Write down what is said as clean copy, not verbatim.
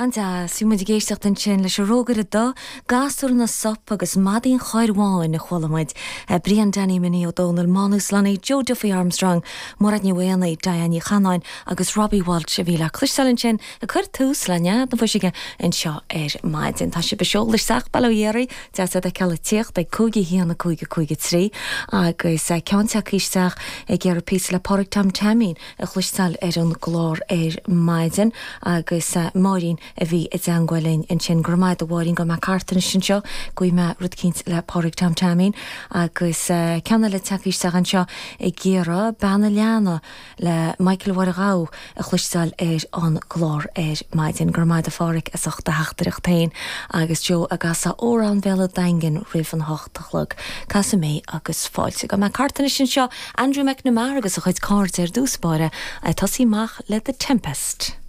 An-deas. Bhí muid ag éisteacht ansin leis an Rógaire Dubh, Gasúr na Sop agus Madaí an Chairr Bháin a chuala muid. Brian Danny Minnie Ó Dónaill, Mánus Lunny, Joe Duffy Armstrong, Mairéad Ní Mhaonaigh, Diane Ní Chanáin agus Robbie Walsh a bhí le cloisteáil ansin ag cur tús le Nead na Fuiseoige anseo ar maidin. Tá sibh ag seoladh isteach, bail ó Dhia oraibh, deas iad a fheiceáil ag tíocht ag 5 1 5 5 3 agus ceann tagtha isteach ag iarraidh píosa le Pádraig Tom Teaimín a chloisteáil ar an gclár ar maidin agus Máirín a bhí i dteangmháil linn ansin. Go raibh maith agat a Mháirín, gabhfaidh mé thart anois anseo, gheobhaidh mé rud eicínt le Pádraig Tom Teaimín agus ceann eile tagtha isteach anseo ag iarraidh Bean an Leanna le Michael Mháire Ghabha a chloisteáil ar an gclár ar maidin. Go raibh maith agat a Pháraic as ucht do theachtaireacht féin agus Joe ag casadh Amhrán Bhéal an Daingin roimh an hocht a chlog. Casfaidh mé agus fáilte. Gabhfaidh mé thart anois anseo Andrew McNamara agus a chuid cairde ar dtús báire ag tosaí amach le The Tempest.